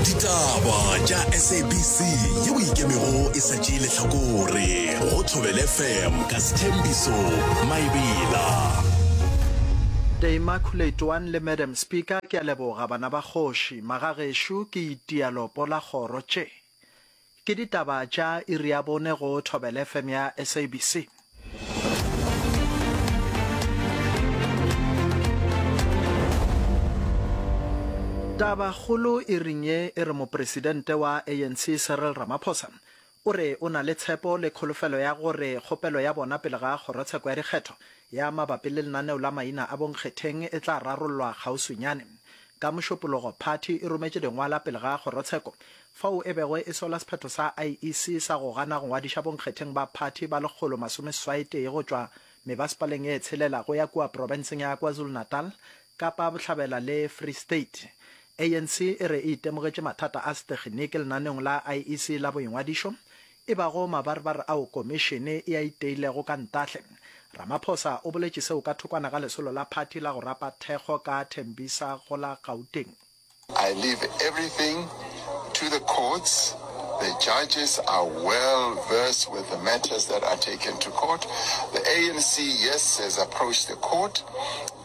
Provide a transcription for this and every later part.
Ditaba tša SABC yeo e ikemego e sa tšee lehlakore go Thobela FM ka Sthembiso Maebela. The Immaculate One le Madam Speaker, ke a leboga bana ba kgoši. Magagešo ke itia lopo la kgoro tše. Ke ditaba tša iri ya bone go Thobela FM ya SABC. Tabakgolo iring ye e re Mopresidente wa ANC Cyril Ramaphosa o re o na le tshepo le kholofelo ya gore kgopelo ya bona pele ga kgorotsheko ya dikgetho ya mabapi le lenaneo la maina a bonkgetheng e tla rarollwa kgauswinyane. Ka Mošupologo, phathi e rometše dingwala pele ga kgorotsheko fao e bego e sola sephetho sa IEC sa go gana go ngwadiša bonkgetheng ba phathi ba 181 go tšwa mebasepaleng ye tshelela go ya kua profenseng ya KwaZulu-Natal, Kapa Bohlabela le Free State. ANC e re e itemogetše mathata a setekginiki lenaneong la IEC la boingwadišo, e bago mabarebare ao komišene e a iteilego ka ntahle. Ramaphosa o boletše seo ka thokwana ga lesolo la phathi la go rapa thekgo ka Tembisa go la Gauteng. I leave everything to the courts, the judges are well versed with the matters that are taken to court. The ANC, yes, has approached the court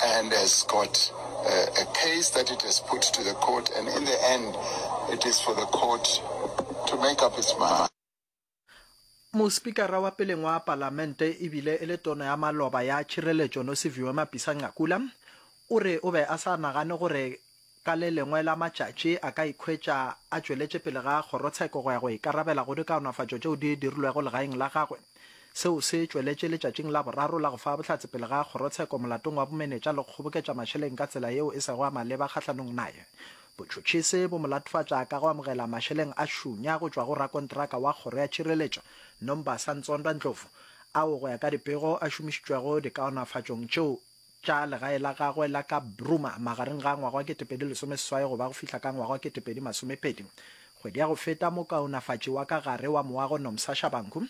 and has got a, a case that it has put to the court and in the end it is for the court to make up its mind. Mospikara wa peleng wa Palamente e bile e le Tona ya maloba ya Tšhireletšo Nosiviwe Mapisa-Nqakula o re o be a sa nagane gore ka le lengwe la matšatši a ka ikhwetša a tšweletše pele ga kgorotsheko go ya go ikarabela go dikaonafatšo tšeo di dirilwego legaeng la gagwe. Seo se tšweletše letšatšing la boraro la go fa bohlatse pele ga kgorotsheko molatong wa bomenetša le go kgoboketša mašeleng ka tsela yeo e sego ya maleba kgahlanong naye. Botšhotšhisi bo mo latofatša ka go amogela mašeleng a šunya go tšwa go rakontraka wa Kgoro ya Tšhireletšo, Nombasa Ntsondwa Ndlovu, ao go ya ka dipego a šomišitšwego dikaonafatšong tšeo tša legae la gagwe la ka Bruma magareng ga ngwaga wa 2018 go ba go fihla ka ngwaga wa 2020. Kgwedi ya go feta mokaonafatši wa ka gare wa moago Nomsa Shabangu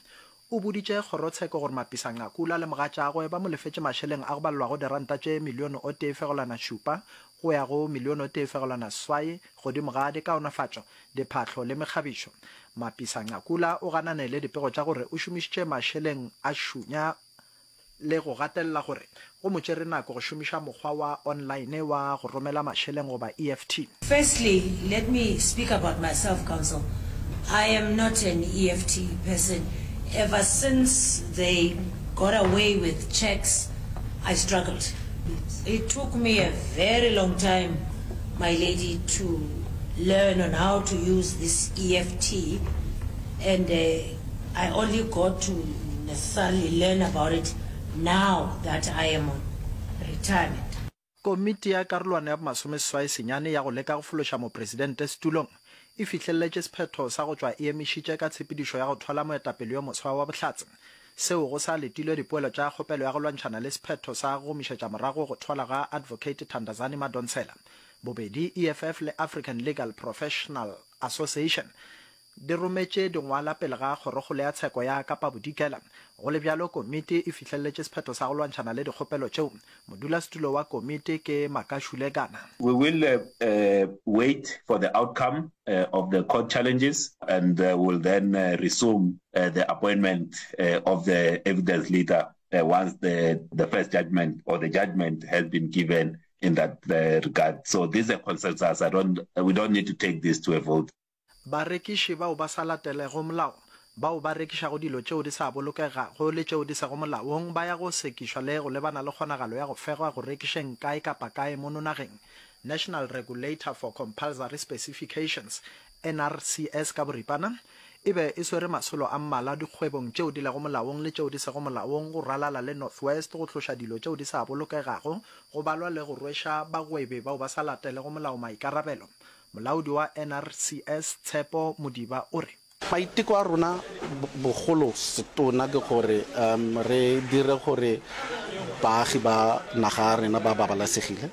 O boditše kgorotsheko gore Mapisa Nqakula le mogatšagwe ba mo lefetše mašeleng a go balelwago diranta tše milione o tee fegelwana šupa go ya go milione o tee fegelwana swai godimo ga dikaonafatšo, diphahlo le mekgabišo. Mapisa Nqakula o ganane le dipego tša gore o šomišitše mašeleng a šunya le go gatelela gore go mo tšere nako go šomiša mokgwa wa online wa go romela mašeleng goba EFT. Firstly, let me speak about myself, Counsel. I am not an EFT person. Ever since they got away with cheques, I struggled. It took me a very long time, my lady, to learn on how to use this EFT and I only got to necessarily learn about it now that I am on retirement. Komiti ya karolwana ya bomasomeseswai senyane ya go leka go fološa mopresidente setulong e fihleletše sephetho sa go tšwa e emišitše ka tshepedišo ya go thwala moetapele yo moswa wa bohlatse. Seo go sa letilwe dipoelo tša kgopelo ya go lwantšhana le sephetho sa go gomišetša morago go thwala ga Advocate Thandazani Madonsela. Bobedi EFF le African Legal Professional Association di rometše dingwala pele ga Kgorokgolo ya Tsheko ya Kapa Bodikela. Go le bjalo, komiti e fihleletše sephetho sa go lwantšhana le dikgopelo tšeo. Modulasetulo wa komiti ke Makashule Gana. We will wait for the outcome of the court challenges and will then resume the appointment of the evidence leader once the the first judgment or the judgment has been given in that regard. So this is a consensus. I don't, we don't need to take this to a vote. Barekiši bao ba sa latelego molao, bao ba rekišago dilo tšeo di sa bolokegago le tšeo di sego molaong ba ya go sekišwa le go lebana le kgonagalo ya go fegwa go rekišeng kae kapa kae mono nageng. National Regulator for Compulsory Specifications, NRCS ka boripana, e be e swere masolo a mmalwa dikgwebong tšeo di lego molaong le tšeo di sego molaong go ralala le North West go tloša dilo tšeo di sa bolokegago go balwa le go rweša bagwebi bao ba sa latelego molao maikarabelo. Molaodi wa NRCS, Tshepo Modiba o re. Maiteko a rona bogolo setona ke gore re dire gore baagi ba naga ya rena ba babalesegile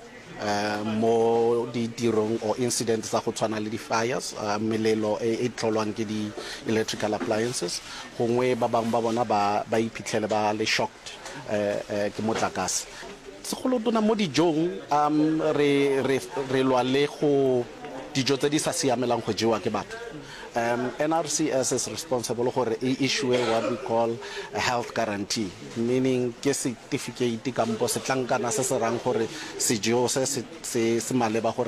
mo ditirong or incidents tsa go tshwana le di-fires, melelo e e tlholwang ke di-electrical appliances. Gongwe ba bangwe ba bona ba ba iphitlhele ba le shocked ke motlakase. Segolotona mo dijong, re, re, re lwa le go. dijo tse di sa siamelang go jewa ke batho. Um NRCS is responsible gore e issue what we call a health guarantee, meaning ke setifikeiti kampo setlankana se se rang gore sejo se se se maleba gore.